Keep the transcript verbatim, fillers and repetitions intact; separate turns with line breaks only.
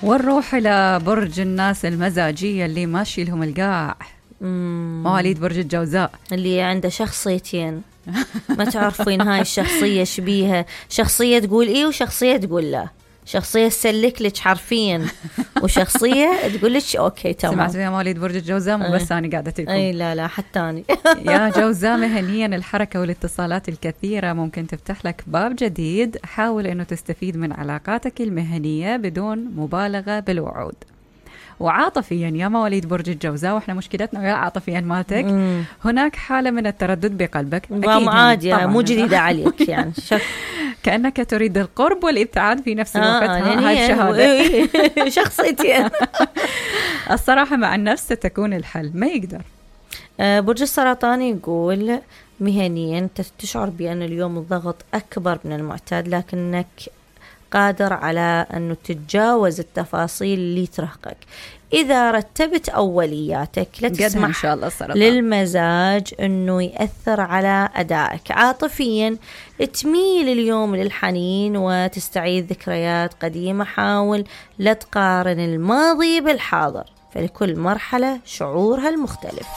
ونروح إلى برج الناس المزاجية اللي ماشي لهم القاع. مواليد برج الجوزاء
اللي عنده شخصيتين ما تعرفين هاي الشخصية شبيها، شخصية تقول إيه وشخصية تقول لا، شخصية تسلك لك حرفيا وشخصية تقول لك أوكي تمام.
سمعت فيها مواليد برج الجوزاء؟ مو بس أنا قاعدة لكم.
أي لا لا حتى أنا.
يا جوزاء، مهنيا الحركة والاتصالات الكثيرة ممكن تفتح لك باب جديد. حاول أنه تستفيد من علاقاتك المهنية بدون مبالغة بالوعود. وعاطفيا يا مواليد برج الجوزاء، واحنا مشكلتنا ويا عاطفيا مالتك، مم. هناك حالة من التردد بقلبك.
أكيد عادي يعني مو جديدة عليك يعني شك.
كأنك تريد القرب والابتعاد في نفس الوقت. آه ها هاي الشهادة.
شخصيتين.
الصراحة مع النفس ستكون الحل، ما يقدر.
آه برج السرطان يقول مهنيا تشعر بأن اليوم الضغط أكبر من المعتاد، لكنك قادر على أنه تتجاوز التفاصيل اللي ترهقك إذا رتبت أولياتك. لا تسمح إن شاء الله للمزاج أنه يأثر على أدائك. عاطفيا تميل اليوم للحنين وتستعيد ذكريات قديمة. حاول لا تقارن الماضي بالحاضر، فلكل مرحلة شعورها المختلف.